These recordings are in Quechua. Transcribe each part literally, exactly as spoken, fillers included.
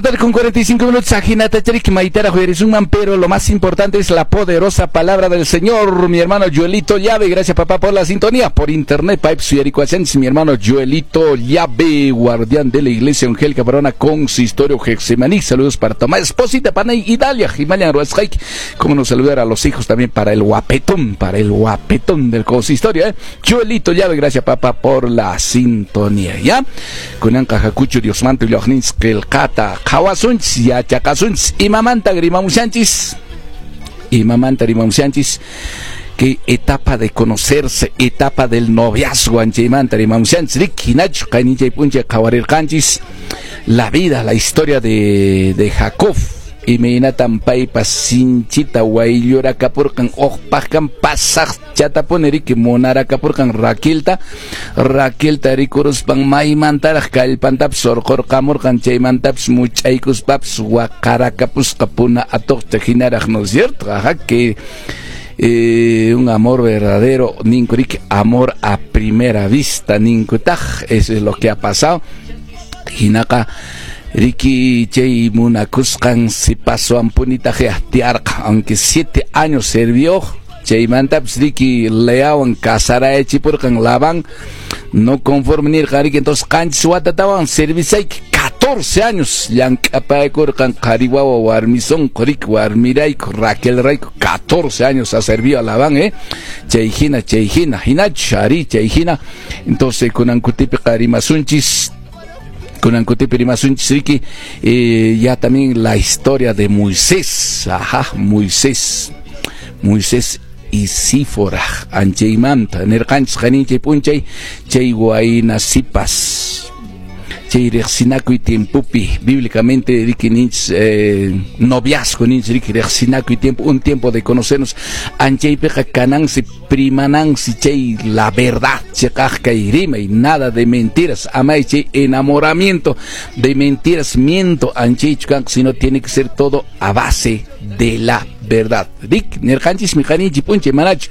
de la tarde con cuarenta y cinco minutos. Ajinata charik maytaraq uyarisunman, pero lo más importante es la poderosa palabra del Señor. Mi hermano Joelito Llave, gracias, papá, por la sintonía. Por internet, Pipe Suyaricuachense, mi hermano Joelito Llave, guardián de la iglesia Evangélica Peruana, Consistorio Getsemaní. Saludos para Tomás, esposita, Panay, Idalia, Himalayan Ruasjaik. Cómo no saludar a los hijos también para el guapetón, para el guapetón del consistorio, ¿eh? Joelito Llave, gracias, papá, por la sintonía, ¿ya? Kunanqa hakuchu Diosmanta willawaqninchis qillqata qhawasunchis, yachaqasunchis, imamanta rimamushanchis, imamanta rimamushanchis, que etapa de conocerse, etapa del noviazgo, anchaymanta rimamushanchis, riki hinachu qayninchay p'unchay qhawarirqanchis la vida, la historia de, de Jacob, imaynatan paypas sinchita wayllurakapurqan uqpaqkan pasaq chatapuni riki munarakapurqan Raquelta, Raquelta rikuruspan maymantaraq kallpantapis urqurqamurqan chaymantapis much'aykuspapis waqarakapusqa puna atuqta hinaraq, ¿no es cierto? Ajá, que eh, un amor verdadero, ninku riki, amor a primera vista, ninkutaq, eso es lo que ha pasado. Hinaqa riki chay munakusqan sipaswanpunitaq tiyarqa, aunque siete años sirvió, chaymantapis riki Leawan casarayachipurqan Labán, no conforme nirqa riki, entonces qanchis watatawan servisayki, catorce años llank'apaykurqan qhari wawa warmi sunqu riki, warmirayku Raquelrayku, catorce años ha servido a Labán, eh? Chay hina, chay hina, hinachu ari chay hina. Entonces kunan kutipiqa rimasunchis, kunan kutipi rimasunchis riki, eh, ya también la historia de Moisés, ajá, Moisés, Moisés y Sífora, anchaymanta, nirqanchis qayninchay p'unchay, chay wayna sipas, chay riqsinakuy tiempopi, bíblicamente riki ninchis, eh, noviazgo ninchis riki riqsinakuy tiempo, un tiempo de conocernos, anchaypiqa kanansi primanansi chay la verdad, chiqaq kay rimay, nada de mentiras, amay chay enamoramiento de mentiras, miento anchaychu kanqa, sino tiene que ser todo a base de la verdad. Rik, nirqanchis mi qayninchik p'unchay manachu,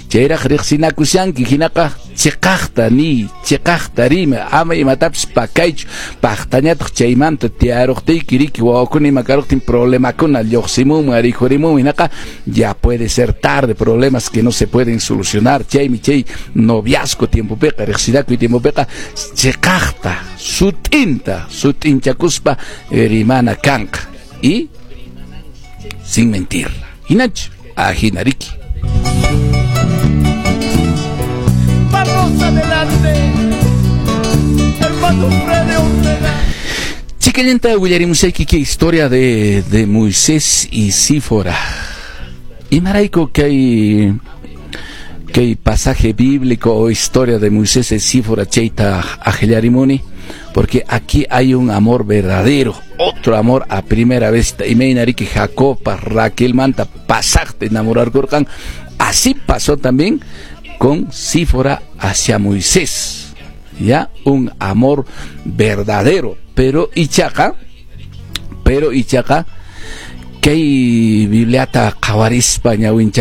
chayraq riqsinakushanki hinaqa chiqaqta ni, chiqaqta rima, ama imatapis pakaychu, paqtañataq chaymanta tiyaruqtiyki riki wawakuna ima karuqtin problemakuna lluqsimunman rikhurimunman, hinaqa ya puede ser tarde, problemas que no se pueden solucionar, chaymi chay noviazgo tiempopiqa, riqsinakuy tiempopiqa chiqaqta, sut'inta, sut'inchakuspa rimana kanqa y sin mentir. Hinachu, ajina riki. Vamos adelante, hermano Freddy Ortega. Chikallanta willarimusayki kay historia de, de Moisés y Sífora. Imarayku kay, kay pasaje bíblico o historia de Moisés y Sífora chayta aqllarimuni, porque aquí hay un amor verdadero, otro amor a primera vista. Imayna riki Jacob, Raquel manta pasaqta enamorarkurqan, así pasó también con Sífora hacia Moisés, ya un amor verdadero. Pero ichaqa, pero ichaqa kay Bibliata qhawarispa ñawincha